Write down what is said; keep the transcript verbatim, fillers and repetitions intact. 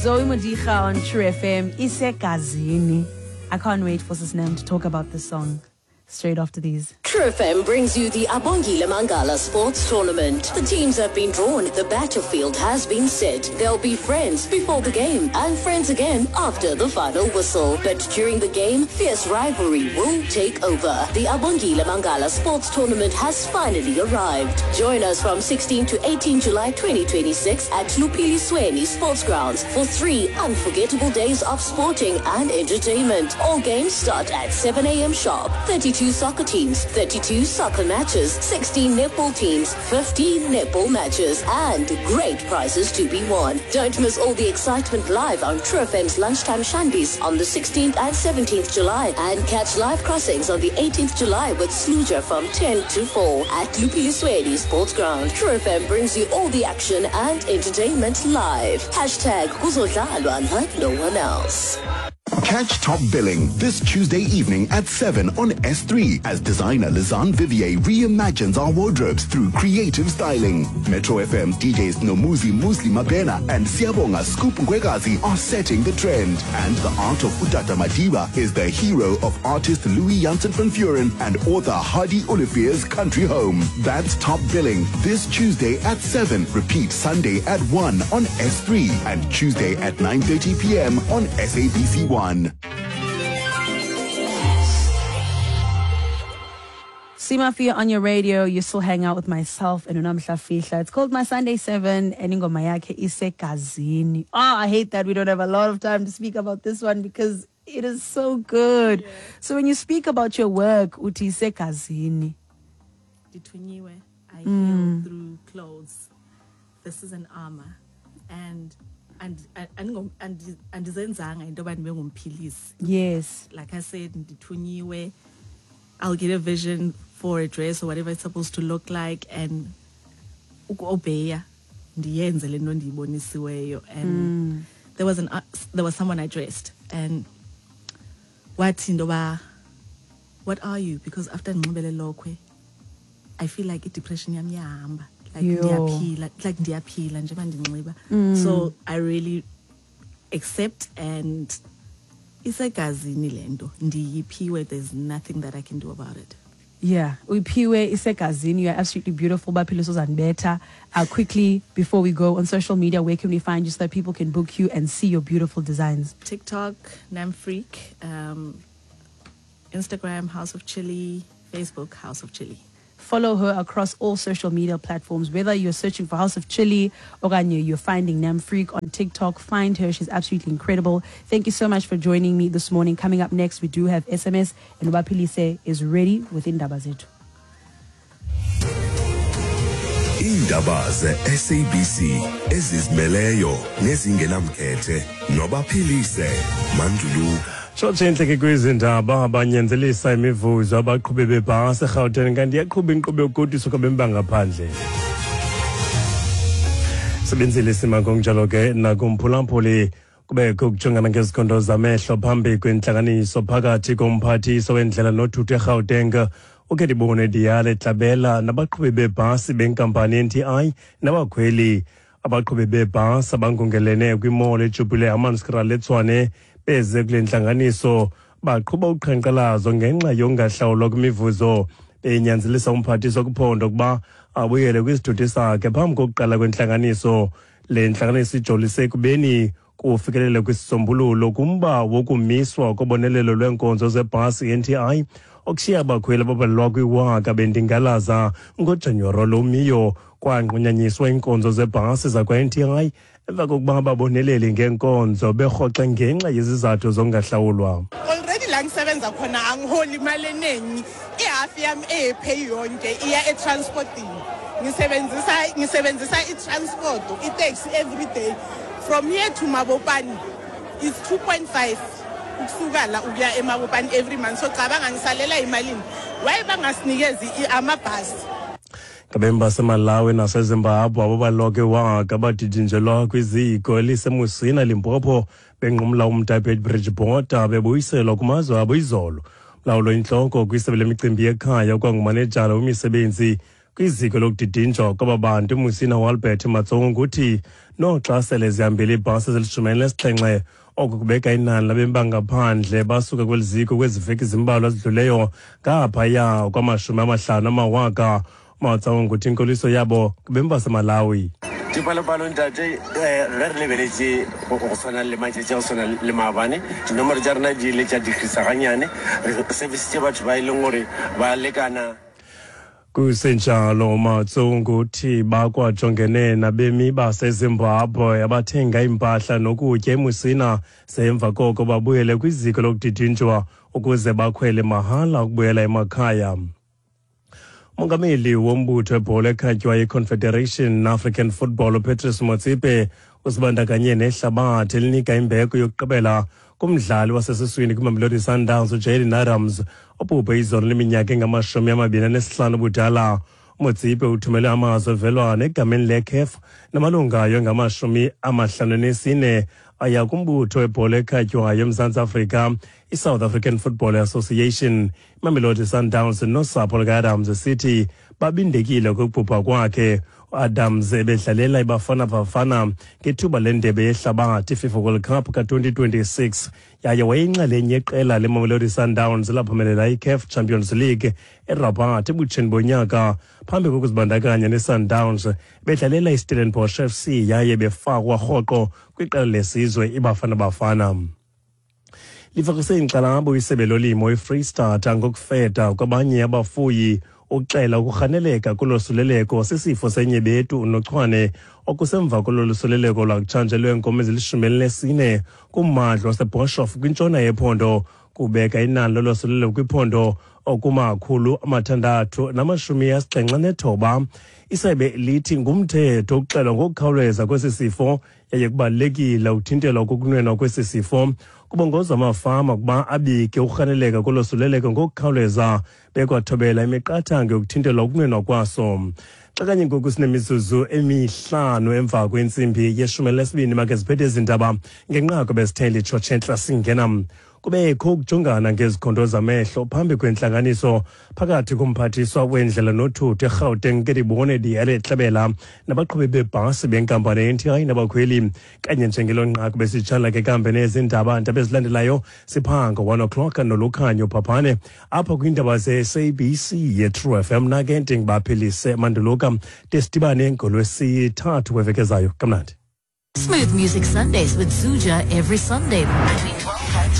Zoe Modiga on True F M, Isegazini. I can't wait for Sis Nam to talk about this song straight after these. True F M brings you the Abongile Mangala Sports Tournament. The teams have been drawn, the battlefield has been set. They'll be friends before the game and friends again after the final whistle. But during the game, fierce rivalry will take over. The Abongile Mangala Sports Tournament has finally arrived. Join us from sixteen to eighteen July twenty twenty-six at Luphilisweni Sports Grounds for three unforgettable days of sporting and entertainment. All games start at seven a m sharp. thirty-two soccer teams, thirty-two soccer matches, sixteen netball teams, fifteen netball matches, and great prizes to be won. Don't miss all the excitement live on True F M's Lunchtime Shandies on the sixteenth and seventeenth July and catch live crossings on the eighteenth July with Sluja from ten to four at Luphilisweni Sports Ground. True F M brings you all the action and entertainment live. Hashtag Kuzodlalwa like no one else. Catch Top Billing this Tuesday evening at seven on S three as designer Lizanne Vivier reimagines our wardrobes through creative styling. Metro F M D Js Nomuzi Musli Mabena and Siabonga Scoop Ngwekazi are setting the trend. And the art of Utata Madiba is the hero of artist Louis Janssen van Vuren and author Hardy Olivier's country home. That's Top Billing this Tuesday at seven. Repeat Sunday at one on S three and Tuesday at nine thirty p m on S A B C one. C Mafia on your radio. You still hang out with myself and uNamhla Fihla. It's called My Sunday seven and ingoma yakhe Isegazini. Oh, I hate that we don't have a lot of time to speak about this one because it is so good. Yeah. So when you speak about your work, uthi isegazini. Ndithunyiwe. I heal through clothes. This is an armor. And and and and andizenzanga into yoba ndibe ngumphilisi. Yes. Like I said, ndithunyiwe. I'll get a vision for a dress or whatever it's supposed to look like and ukuobeya ndiyenze le nto ndiyibonisiweyo. And there was an uh, there was someone I dressed and wathi into yoba, "What are you? Because after ndinxibe le lokhwe, I feel like i-depression yam iyahamba, like Yo. ndiyaphila, like ndiyaphila njengoba ndinxiba." So I really accept and isegazini le nto, ndiyiphiwe. There's nothing that I can do about it. Yeah, uyiphiwe, isegazini. You are absolutely beautiful. Baphile Sozanbetha. Uh, quickly, before we go, on social media, where can we find you so that people can book you and see your beautiful designs? TikTok, Namfreak, um, Instagram, House of Chili, Facebook, House of Chili. Follow her across all social media platforms. Whether you're searching for House of Chili or you're finding Namfreak on TikTok, find her. She's absolutely incredible. Thank you so much for joining me this morning. Coming up next, we do have S M S, and Wapilise is ready with Indaba Zethu. Iindaba ze-S A B C ezizimeleyo nezingenamkhethe noBaphilise Manduluka. Tshotshe intleke kwizindaba, abanyanzelisa imivuzo abaqhubi bebhasi eRhawutini, kanti iyaqhuba inkqubo yokugoduswa kwabemi bangaphandle. Sebenzile isima ngokunjalo ke nakumphulaphuli, kubekho ukujongana ngezikhondo zamehlo phambi kwentlanganiso phakathi komphathiswa wendlela nothutho eGauteng uKedibone Diale Tlabela nabaqhubi bebhasi benkampani N T I nabakhweli. Abaqhubi bebhasi abangungelene kwimall eJubilee Hammanskraal eTshwane beze kule ntlanganiso baqhuba uqhankqalazo ngenxa yokungahlawulwa kwimivuzo, benyanzelisa umphathiswa kuphondo ukuba abuyele kwisithuthi sakhe phambi kokuqala kwentlanganiso. Le ntlanganiso ijolise ekubeni kufikelele kwisisombululo kumba wokumiswa kobonelelo lweenkonzo zebhasi i-N T I, okushiya abakhweli ababalelwa kwiwaka bendingalaza. NgoJanuwari lomiyo kwanqunyanyiswa iinkonzo zebhasi zakwa-N T I emva kokuba ababoneleli ngeenkonzo berhoxe ngenxa yezizathu zokungahlawulwa. Already la ngisebenza khona angiholi imali eningi. Ihafu yami eyepay yonke iya etransportini. Ngisebenzisa ngisebenzisa i-transport, i-taxi every day. From here to Mabopane is two point five ukusuka la ukuya eMabopane every month. So cabanga ngisalela imalini? Why bangasinikezi i- amabhasi? Ngabemi baseMalawi naseZimbabwe ababaloke waka badidinjelwa kwiziko eliseMusina, Limpopo, benqumla umda eBeitbridge border bebuyiselwa kumazwe abo izolo. Mlawulo intloko kwisebe lemicimbi yekhaya kwangumanejala wemisebenzi Kwiziko lokudidinjwa kwaba bantu uMusina Walbert Matsongo uthi noxa sele zihambile iibhasi ezilishumi elinesixhenxe, oko kubeka inani labemi bangaphandle basuka kweli ziko kwezi veki zimbalwa zidluleyo ngaphaya kwamashumi amahlanu amawaka. Matsaung uthi inkoliso yabo kubemi baseMalawi. Dipalopalo ntate, ge re lebeletse go tshwana le matšatši a go tshwana le maabane, dinomoro tša rena di ile tša decreasa ganyane. Re servicitše batho ba e leng gore ba lekana. Kusenjalo, Matsungu uthi bakwajongene nabemi baseZimbabwe abathenga iimpahla nokutya eMusina, semva koko babuyele kwiziko lokudidinjwa ukuze bakhwele mahala ukubuyela emakhaya. Umongameli wombutho webhola ekhatywayo iConfederation African Football uPatrice Motsepe usibandakanye nehlabathi elinika imbeko yokugqibela kumdlali wasesiswini kwiMamelodi Sundowns uJayden Adams obhubhe izolo leminyaka engamashumi amabini anesihlanu ubudala. UMotsepe uthumele amazwi ovelwano egameni leCAF namalungu ayo engamashumi amahlanu nesine aya kumbutho webhola ekhatywayo eMzantsi Afrika iSouth African Football Association, iMamelodi Sundowns nosapho luka-Adams, esithi babindekile ukubhubha kwakhe. UAdams ebedlalela iBafana Bafana ngethuba lendebe yehlabathi iFIFA World Cup ka-twenty twenty-six, yaye wayeyinxalenye yeqela leMamelodi Sundowns elaphumelela iCAF Champions League eRabat ebutsheni bonyaka. Phambi kokuzibandakanya neSundowns bedlalela iStellenbosch F C yaye befakwa rhoqo kwiqela lesizwe iBafana Bafana. Lifakise inkxalabo isebe lolimo iFreystata ngokufeda kwabanye abafuyi uxela ukurhaneleka kulosuleleko sisifo senyebetu unochwane okusemva kololusuleleko lwakutshanje lweenkomo ezilishumi elinesine kummandla waseBoshoff kwintshona yephondo, kubeka inani lolosuleleko kwiphondo okumakhulu amathandathu namashumi asixhenxe nethoba. Isebe lithi ngumthetho ukuxelwa ngokukhawuleza kwesi sifo yaye kubalulekile ukuthintelwa kokunwenwa kwesi sifo. Kubongozwa amafama ukuba abike ukurhaneleka kolosuleleko ngokukhawuleza bekwathobela imiqathango yokuthintelwa ukunwenwa kwaso. Xa kanye ngoku sinemizuzu emihlanu emva kwentsimbi yeshumi elinesibini, make ziphethe ezi ndaba ngenqaku besithe litshotshe entla singena. Kubekho ukujongana ngezikhondo zamehlo phambi kwentlanganiso phakathi komphathiswa wendlela nothutho eGauteng Kedibone Diale-Tlabela nabaqhubi bebhasi benkampani ye-N T I nabakhweli. Kanye njengelo nqaku besitshala ke kambe nezindaba ndaba ezilandelayo siphanga one o'clock noLukhanyo Phaphane apha kwiindaba ze-S A B C ye-True F M. Nake ndingibaphilise Manduluka de sidibane ngolwesithathu weveki ezayo. Kamnandi. Smooth Music Sundays with Zuja every Sunday between twelve and